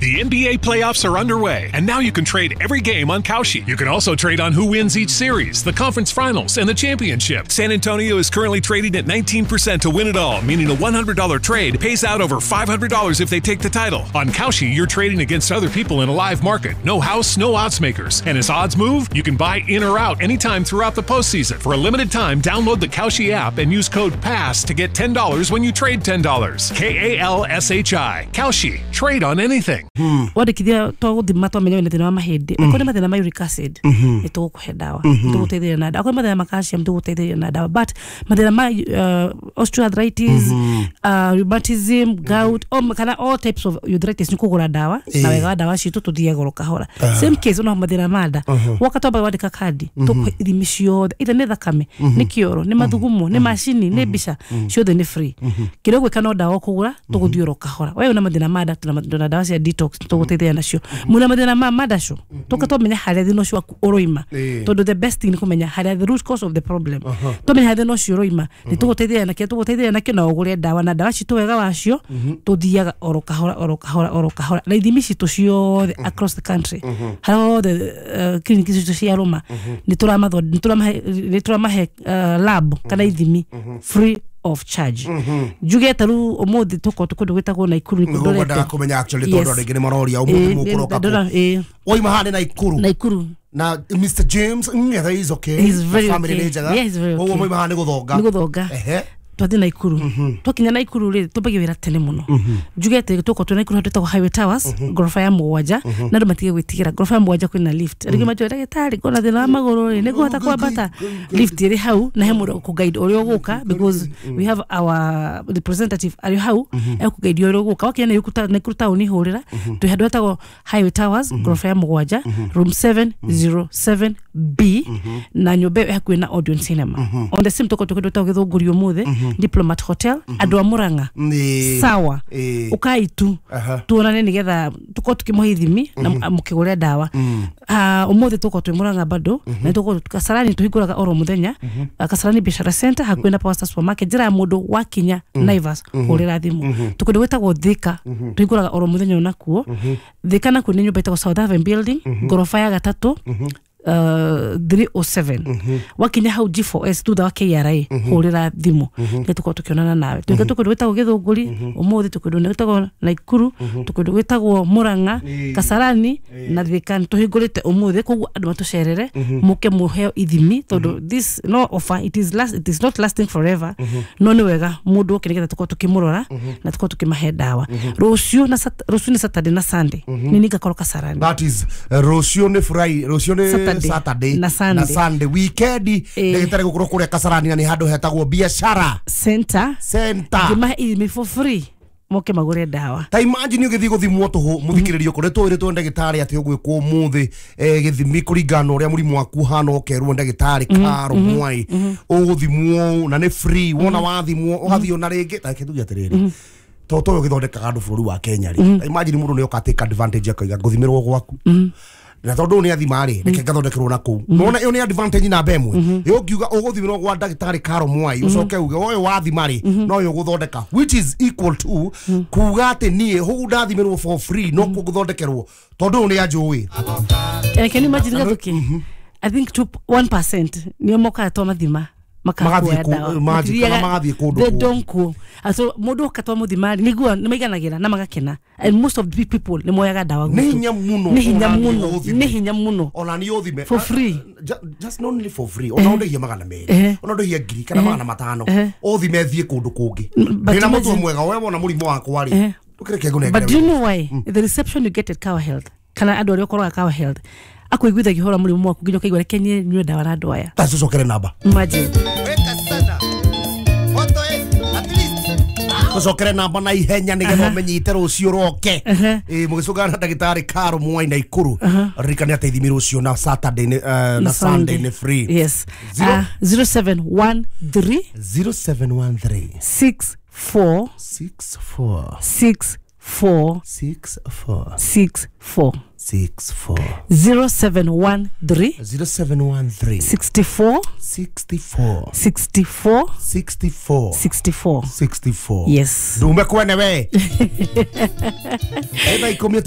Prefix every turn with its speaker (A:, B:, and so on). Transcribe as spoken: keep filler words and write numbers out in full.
A: The N B A playoffs are underway, and now you can trade every game on Kalshi. You can also trade on who wins each series, the conference finals, and the championship. San Antonio is currently trading at nineteen percent to win it all, meaning a one hundred dollar trade pays out over five hundred dollars if they take the title. On Kalshi, you're trading against other people in a live market. No house, no odds makers. And as odds move, you can buy in or out anytime throughout the postseason. For a limited time, download the Kalshi app and use code PASS to get ten dollars when you trade ten dollars. K A L S H I. Kalshi. Trade on anything.
B: Wandĩkithia twagũthima twamenya wĩna thĩna wa mahĩndĩ, akorwo nĩ mathĩna ma uric acid nĩ tũgũkũhe ndawa, tũgũteithĩrĩria na ndawa. Akorwo nĩ mathĩna ma calcium tũgũteithĩrĩria na ndawa, but mathĩna ma uh, osteoarthritis, uh, rheumatism, gout, o kana all types of arthritis nĩ kũgũra ndawa, na wega wa ndawa citũ tũthiaga goro kahora. Same case ona mathĩna ma nda, woka twamba wandĩka kandi tũkũhe ithimi ciothe, either nĩ thakame, nĩ kĩoro, nĩ mathugumo, nĩ macini, nĩ mbica, ciothe nĩ free. Kĩrĩa ũgwĩka no ndawa ũkũgũra, tũgũthiĩ oro kahora. We wĩna mathĩna ma nda, tũna ndawa cia detox tũgũteithia nacio. Mwĩna mathĩna ma mandaco, tũka twamenya harĩa thĩna ũcio waku ũroima, tondũ the best thing nĩ kũmenya harĩa the root cause of the problem. Twamenya harĩa thĩna ũcio ũroima, nĩ tũgũteithia nakĩo, tũgũteithia nakĩo na ũgũre ndawa, na ndawa citũ wega wacio tũthiaga oro kahora oro kahora oro kahora, na ithimi citũ ciothe across the country, harĩa hothe clinic citũ cia rũma nĩ tũramahe nĩ tũramahe lab kana ithimi free of charge. Njuge ta rĩu ũmũthĩ tũkorwo tũkũndũ gwĩtagwo Naikuru, nĩ
C: kũndũ ndorete kũmenya actually tondũ rĩngĩ nĩ maroria ũmũthĩ mũkũroka kũ. Waima haha nĩ Naikuru.
B: Naikuru.
C: Na Mister James Ng'ethe is okay.
B: He's very
C: family
B: okay.
C: Nĩ njega.
B: Yeah, he's very okay.
C: Ũguo moima haha nĩ gũthonga.
B: Nĩ gũthonga.
C: Ehe.
B: Twathiĩ Naikuru. Twakinya Naikuru rĩ, twambagia wĩra tene mũno. Njuge atĩ tũkorwo twĩ Naikuru handũ hetagwo Highway Towers, ngoroba ya mũgwanja, na andũ matige gwĩtigĩra. Ngoroba ya mũgwanja kwĩna lift. Rĩngĩ manjũria, ndagĩtarĩ, ngona thĩna wa magũrũ rĩ, nĩngũhota kwambata? Lift ĩrĩ hau, na he mũndũ ũkũguide ũrĩa ũgũka, because we have our representative arĩ hau, ekũguide ũrĩa ũgũka. Wakinya Naikuru taũni hũrĩra, twĩ handũ hetagwo Highway Towers, ngoroba ya mũgwanja, room seven zero seven B, na nyũmba ĩyo ĩ hakuhĩ na Odeon Cinema. On the same tũkorwo twĩ kũndũ gwĩtagwo Gĩthũngũri ũmũthĩ, Diplomat Hotel, andũ a Murang'a sawa, ũkai tu tuonane nĩgetha tũkorwo tũkĩmũhe ithimi na mũkĩgũre ndawa. Ũmũthĩ tũkorwo twĩ Murang'a bado, na tũkorwo Kasarani tũhingũraga oro mũthenya, Kasarani Biashara Center hakuhĩ na Power Star Supermarket, njĩra ya mũndũ wakinya Naivas hũrĩra thimũ. Tũkũndũ gwĩtagwo Thika tũhingũraga oro mũthenya onakuo. Thika nakuo nĩ nyũmba ĩtagwo South Haven Building, ngoroba ya gatatũ, Uh, three oh seven. Wakinya hau G four S thutha wa K R A hũrĩra thimũ nĩ tũkorwo tũkĩonana nawe. Twĩke tũkũndũ gwĩtagwo Gĩthũngũri ũmũthĩ, tũkũndũ gwĩtagwo Naikuru, tũkũndũ gwĩtagwo Murang'a, Kasarani na Thika tũhingũrĩte ũmũthĩ, koguo andũ matũcerere mũke mũheo ithimi, tondũ this no offer, it is last, it is not lasting forever. No nĩ wega mũndũ oke nĩgetha tũkorwo tũkĩmũrora na tũkorwo tũkĩmahe ndawa. Rũciũ na rũciũ nĩ Saturday na Sunday nĩ ningakorwo Kasarani.
C: That is rũciũ nĩ Friday, rũciũ nĩ Saturday
B: na Sunday,
C: na Sunday weekend ndagĩtarĩ gũkorwo kũrĩa Kasarani, na nĩ handũ hetagwo Biashara
B: Center
C: Center,
B: ngĩmahe ithimi for free moke magũre ndawa.
C: Ta imagine ũgĩthiĩ gũthimwo tũhũ mũthikĩrĩrio kũrĩa tũĩrĩtwo ndagĩtarĩ atĩ ũgwĩkwo ũmũthĩ gĩthimi kũringana na ũrĩa mũrimũ waku ũhana, ũkerwo ndagĩtarĩ Karo Mwai ũgũthimwo na nĩ free, wona wathimwo ũgathiĩ ona rĩngĩ. Ta reke tuge atĩrĩrĩ, tondũ ũyũ ũgĩthondekaga andũ bũrũri wa Kenya rĩ, ta imagine mũndũ nĩ oka take advantage akauga ngũthimĩrwo gwaku, na tondũ nĩ athima rĩ, reke ngathondekerwo na kũu. Nona ĩyo nĩ advantage namba ĩmwe. Ĩyo ũngiuga ũgũthimĩrwo gwa ndagĩtarĩ Karo Mwai, ũcoke uge ũyũ wathima rĩ no ũyũ ũgũthondeka, which is equal to kuga atĩ niĩ hũu ndathimĩrwo for free no kũthondekerwo tondũ ũyũ nĩ anjũĩ.
B: Can you imagine Gathuki? I think two, one percent nĩo mokaga twamathima
C: magathiĩ magathiĩ kũndũ
B: they don't go. So mũndũ oka twamũthima nĩguo nĩ maiganagĩra na magakena, and most of the people nĩ moyaga ndawa
C: gwitũ. Nĩ hinya mũno,
B: nĩ hinya mũno, nĩ hinya mũno
C: ona nĩ ũthime
B: for free,
C: just not only for free, ona ũndĩhie magana merĩ, ona ũndĩhie ngiri kana magana matano, ũthime thiĩ kũndũ kũngĩ. Ndĩna mũtwe mwega, we wona mũrimũ wakwa rĩ, ndũkĩreke ngũnengere.
B: But do you know why the reception you get at Kawa Health, kana andũ arĩa ũkoraga Kawa Health akũiguithagia ũhoro wa mũrimũ waku nginya ũkaigua reke niĩ nyue ndawa na andũ aya.
C: Ta tũcokere namba.
B: Imagine.
C: Tũcokere namba na ihenya nĩgetha ũmenyite rũciũ roke. Ĩ mũgĩcũngana na ndagĩtarĩ Karo Mwai Naikuru. Ririkane atĩ ithimi rũciũ na Saturday na Sunday nĩ free.
B: Yes. zero seven one three
C: zero seven one three
B: six four
C: six four
B: six four
C: six four
B: six four
C: six four
B: zero seven one three
C: zero seven one three
B: sixty four
C: sixty four
B: sixty four
C: sixty four
B: sixty four
C: sixty four.
B: Yes.
C: Ndume kwene we. Eba ikomio.